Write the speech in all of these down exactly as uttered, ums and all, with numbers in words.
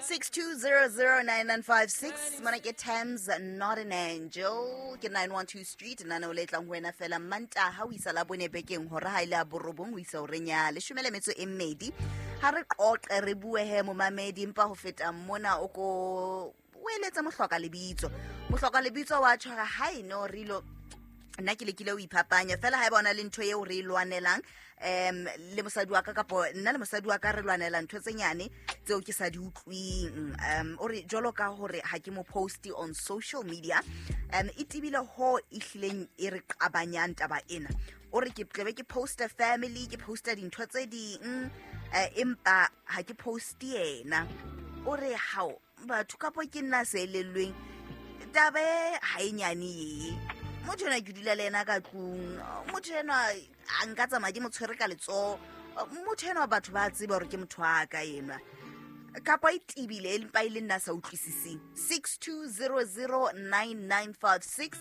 Six two zero zero nine nine five six. Mona ke Thames, Not an Angel. Ke nine one two Street. Lenaneo le tlang ho wena fela Mantaha ho isa Labone bekeng hora ha ile a borobong ho isa horeng ya leshome le metso e mmedi. Ha re qoqe re bue he momamedi, empa ho feta mona o ko o eletsa mohloka lebitso. Mohloka lebitso wa tshwara ha eno re ilo nna ke lekile ho iphapanya fela ha e bona le ntho eo re e lwanelang um le mosadi wa ka kapo nna le mosadi wa ka re lwanela ntho tse nyane tseo ke sa di utlwing. Um o re jwalo ka hore ha ke mo post on social media, um e tebile ho e hlileng e re qabanyang taba ena. O re ke tlebe ke poster family, ke poster dintho tse ding, eh, empa ha ke post yena. O re hao batho kapo ke nna se elellweng taba e ha e nyane ye. Motho enwa ke dula le yena ka tlung, motho enwa a nka tsamaya ke mo tshwere ka letsoho, motho enwa batho ba tseba hore ke motho wa ka enwa. Kapa e tebile empa e le nna sa utlwisiseng. Six two zero zero nine nine five six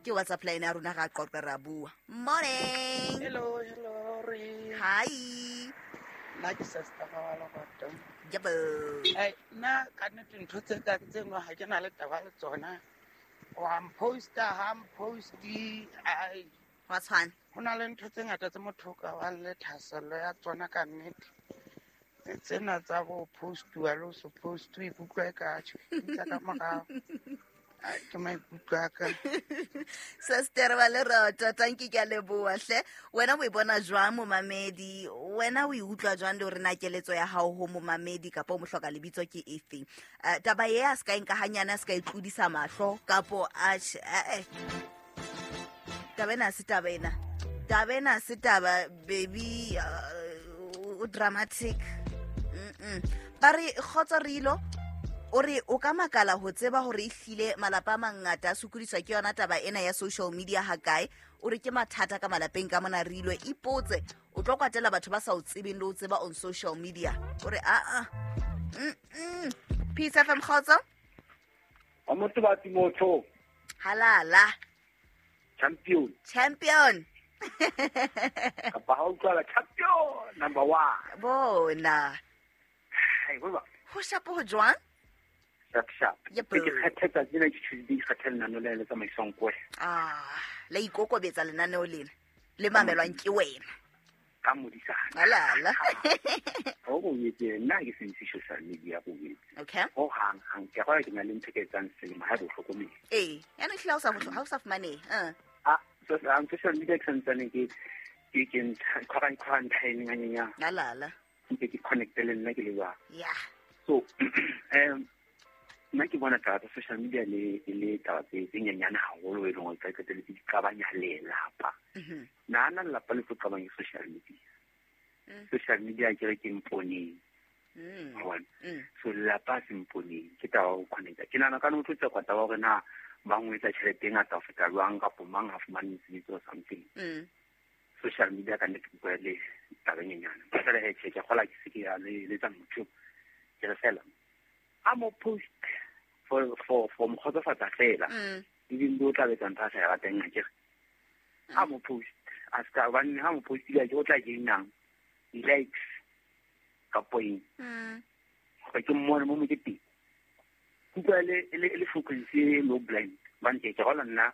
ke WhatsApp line ya rona, ra qoqa ra bua. Morning. Hello, hello, re. Hi. Nna ke sister wa Lerato. Yebo. Ai, nna ka nnete ntho tse ka tse nngwe ha ke na le taba le tsona. Wa mposta, ha mposti, ai. Wa tshwana. Ho na le ntho tse ngata tse motho o ka bang le thahasello ya tsona ka nnete. Tsena tsa bo postuwa le ho se postuwe, ikutlwa e ka tjho, ke ka morao. Ai, ke maikutlo a ka. Sister wa Lerato, thank you, ke a leboha hle. Wena o e bona jwang momamedi? Wena o e utlwa jwang le hore na keletso ya hao ho momamedi kapa o mohloka lebitso ke efe? Eh, taba e a se ka e nka hanyane, a se ka e tlodisa mahlo kapo a tjhe, eh, eh. Taba ena ha se taba ena. Taba ena ha se taba, baby, uh, o dramatic. Mm-mm. Ba re kgotso re ilo, o re o ka makala ho tseba hore ehlile malapa a mangata a sokodiswa ke yona taba ena ya social media hakae. O re ke mathata ka malapeng ka mona re ilo ipotse, o tlo kwatela batho ba sa o tsebeng le ho tseba on social media. O re a a. Mm-mm. Peace F M kgotso. Wa motho ba Timotho. Halala. Champion. Champion. Kapa ha o utlwala champion number one. Bona. Hai, bo ba. Ho shapo ho jwang? Sharp, sharp. Yep. Ke kgethetsa tsena ke Tuesday, ke kgethe lenaneo le le tsamaiswang ko wena. Ah, la ikokobetsa lenaneo lena le mamelwang ke wena. Ka modisana. Alala. Ho go etse nna ke se ntse social media go etse. Okay. Ho hang hang ke go ke na le ntho ke etsang selemo ha bo hlokomele. Eh, ya no hlila o sa ha o sa fumane. Eh. Ah, so ang social media ke santsane ke ke ke quarantine quarantine nganyanya. Alala. Ke ke connect le nna ke le jwang. Yeah. So, um nna ke bona taba tsa social media le e le taba tse tse nyenyane haholo e leng hore ka qetelletse di qabanya lelapa. Mhm. Nahana lelapa le tlo qabanya social media. Mm. Social media ke re ke mponeng. Mm. Wa bona? Mm. So lelapa ha se mponeng, ke taba ya ho connecta. Ke nahana ka no tlo tswa taba hore na mang o etsa tjhelete e ngata ho feta jwang kapo mang ha fumane mosebetsi or something. Mm. Social media ka nnete ke bua le taba e nyenyane. Ba fela he tjhe, ke kgola ke se ke ya le letsa motho. Ke re fela, a mo post for for for mo kgotsofatsa fela. Mm. Ebile o tla betsa ntho a sa e rateng akere. A mo post, a ska hobane ha mo postile ke o tla gainang di-likes kapo eng. Mm. Gore ke mmone mo moketeng. Kutlwa le, le, le frequency e low blind. Hobane ke ke gola nna,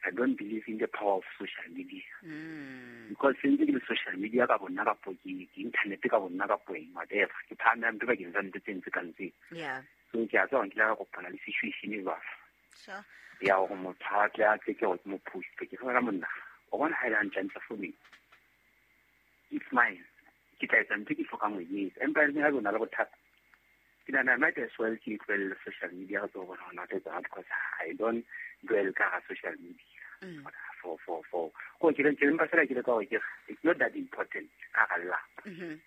I don't believe in the power of social media. Mm. Because since ke le social media ka bonna kapo ke, ke internet ka bonna kapo eng, whatever. Ke phahamela ntho bakeng sa ntho tse ntse ka ntse. Yeah. So ke a tseba hore nkile ka kopana le situation e jwalo. Sure. Ya hore motho a tle a tle ke hore ke mo post. Ke re monna, o bona ha e le hantle hantle for me. It's mine. Ke tla etsa ntho e ke hlokang ho e etsa. Empa le ha o na le bothata, ke nahana I might as well ke tlohelle social media re tsebe hore hona tlo etsa because I don't dwell ka hara social media. Mm. For, for, for. Ko ke re, ke mpa fela ke le ka hore ke re, it's not that important ka hara lelapa. Mm-hmm.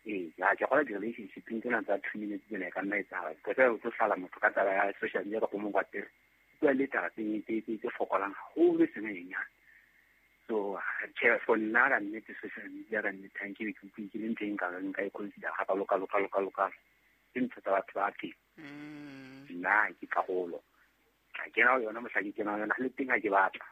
Ee, ya, ke kgolwa di-relationship-eng tsena tsa two minutes tsena e ka nna etsahala. Because ha o tlo hlala motho ka taba ya social media kapa o mo kwatele, bua le taba tse, tse, tse, tse fokolang haholo e seng e nyenyane. So, tjhe, for nna ka nnete social media ka nnete ha nke be ke utlwe ke le ntho e nka reng nka e consider hakalo, kalo, kalo, kalo, kalo. Ke ntho tsa batho ba teng. Mm. Nna ke karolo. Ka kena ho yona mohla ke kena ho yona, le teng ha ke batla.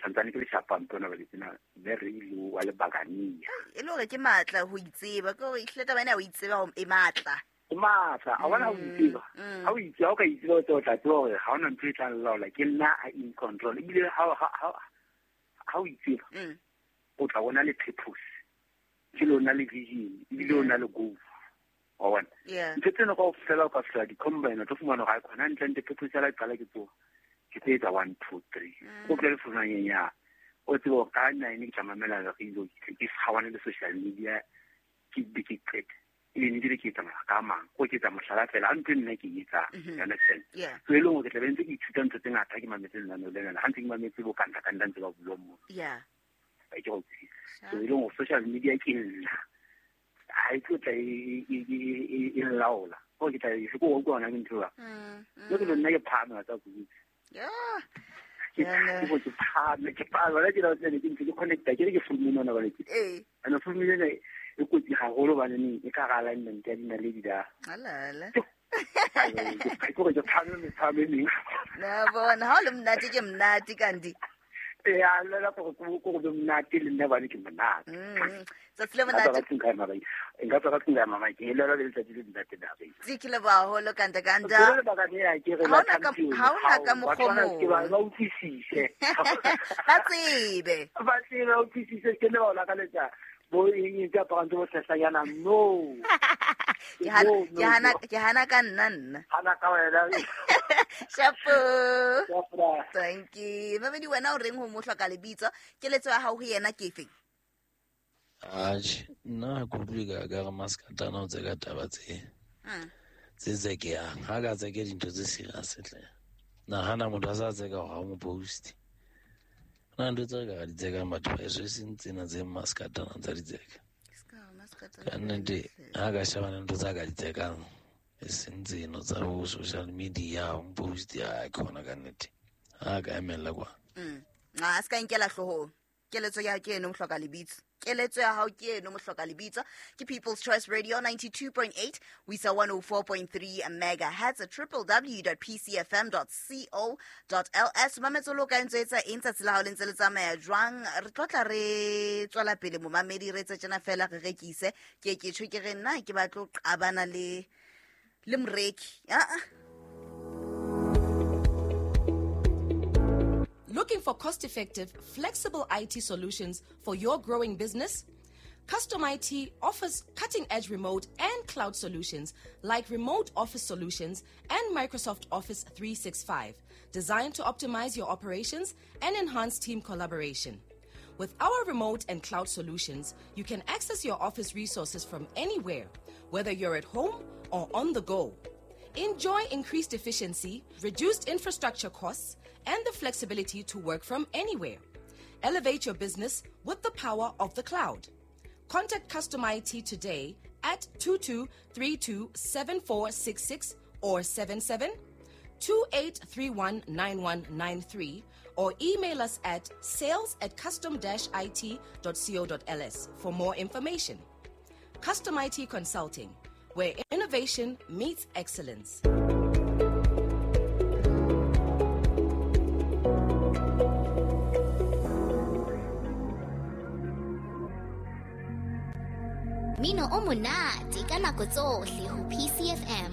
Santsane ke le shapa mpona ba le tsena, mme re ile wa le bagania. E le hore ke matla ho itseba, ke hore ehlile taba ena ya ho itseba ho e matla. O matla a bona o itseba ha o itse ha o ka itseba o tla tseba hore ha ona ntho e tla laola ke nna a in control ebile ha ha ha o itseba o tla bona le purpose ke lona le vision ebile o na le goal wa bona ntho tsena ka ofela o ka fela di combine o tlo fumana ga khona ntle ntle purpose ya la qala ke tsoa ke tse tsa one two three o tle le fumana ya o tsebo ka nine ke tla mamela radio ke gawane le social media ke be ke qete e ne dire ke tsamaya ka mang go ke tsa mohlala fela a ntwe nna ke etsa you understand so e leng ke tla be ntse ke ithuta ntho tse ngata ke mametse lenaneo lena ha ntse ke mametse bo kanta kanta ntse ba bua mo yeah ke go so e leng social media ke nna ha e tlo tla e e laola go ke tla e se go go ona ke ntho ba le ke nna ke phahame tsa go yeah ke ke ke phahame ke phahame la ke la tsene ke ntse ke connecta ke re ke founu nona ba le ke eh ana founu ena e kotsi haholo bane neng e ka ga alignment ya dinaledi da alala ke go ke phahame me phahame neng na bona ha o le monate ke monate kandi ya la la go go go be monate le nna bane ke monate tsatsi le monate nka tswa ka tlung ya mama ke le le letsatsi le monate da be tse ke le ba holo kanta kanta le ba ka ya ke re la ha ona ka mokgomo ke ba ba utlwisise ba tsebe ba tsebe ba utlwisise ke le ba ola ka letsa bo eng tsa parang bo tlhasanyana no ke hana ke hana ke hana ka nna nna hana ka wena shapo thank you mamedi wena o reng ho mo hloka lebitso keletso ya hao ho yena ke efe atjhe nna ke utlwe ka ka re maskatana o tseka taba tse tse tsekeyang ha ka tseke dintho tse serious tle nahana motho a sa tseka hore ha o mo post na ntho tse ka di tsekang batho ba eso e seng tsena tse maskatana tsa di tseka ka nnete ha ka shebana ntho tsa ka di tsekang e seng tseno tsa bo social media o post ya khona ka nnete ha ka emella kwa a se ka nkela hloohong keletso ya ke eno mohloka lebitso keletso ya hao ke eno mohloka lebitso ke People's Choice Radio ninety-two point eight we saw one oh four point three megahertz at w w w dot p c f m dot co dot l s mametso lo ka ntse etsa eng tsatsi la hao le ntse le tsamaya jwang re tlotla re tswela pele momamedi re tse tjena fela re rekise ke ke tjho ke re nna ke batlo qabana le le moreki a a Looking for cost-effective, flexible I T solutions for your growing business? Custom I T offers cutting-edge remote and cloud solutions like Remote Office Solutions and Microsoft Office three sixty-five, designed to optimize your operations and enhance team collaboration. With our remote and cloud solutions, you can access your office resources from anywhere, whether you're at home or on the go. Enjoy increased efficiency, reduced infrastructure costs, and the flexibility to work from anywhere. Elevate your business with the power of the cloud. Contact Custom I T today at two two three two seven four six six or seven seven two eight three one nine one nine three or email us at sales at custom dash it dot co dot l s for more information. Custom I T Consulting, where innovation meets excellence. Mino o monate ka nako tsohle ho P C F M.